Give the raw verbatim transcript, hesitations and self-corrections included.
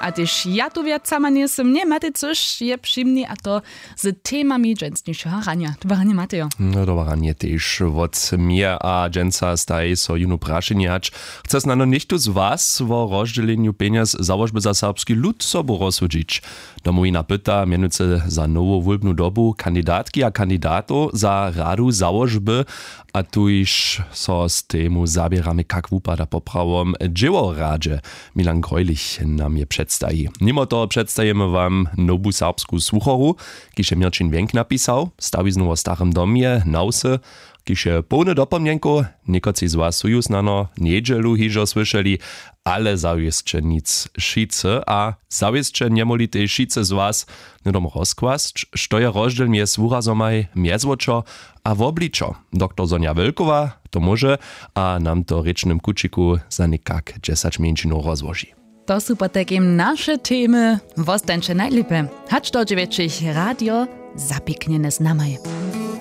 A tež ja tu wjacama njejsym, ně, Matej Cyš je při mni, a to z temami dźensnišeho ranja. Dobre ranje, Matejo. No, dobre ranje tež wot mje a dźensa staj so jónu prašenje hać: Chce snano něchtó z was wo rozdźělenju pjenjez Załožby za serbski lud sobu rozsudźić? Domowina pyta mjenujcy za nowu wólbnu dobu kandidatki a kandidatow za radu Załožby, a tuž so z temu zaběramy, kak wupada poprawom w dźěłoradźe. Milan Greulich nam je předstaji. Nimo toho předstajimy wam nowu serbsku słuchoru, kiž je Měrćin Wjenk napisał, stawiznu wo starym domje na wsy, kiž je połny dopomnjenkow. Někotři z was su ju snano njedźelu hižo słyšeli, ale zawěsće nic wšitcy a zawěsće njemóhli tež wšitcy z was hnydom rozkłasć, što je rozdźěl mjez wurazomaj mjezwočo a wobličo. Doktor Sonja Wölkowa to móže a nam to w rěčnym kućiku za někak dźesać mjeńšinow rozłoži. To su potajkim naše temy. Wostańće najlěpje hač do dźewjećich radio zapiknjene z namaj.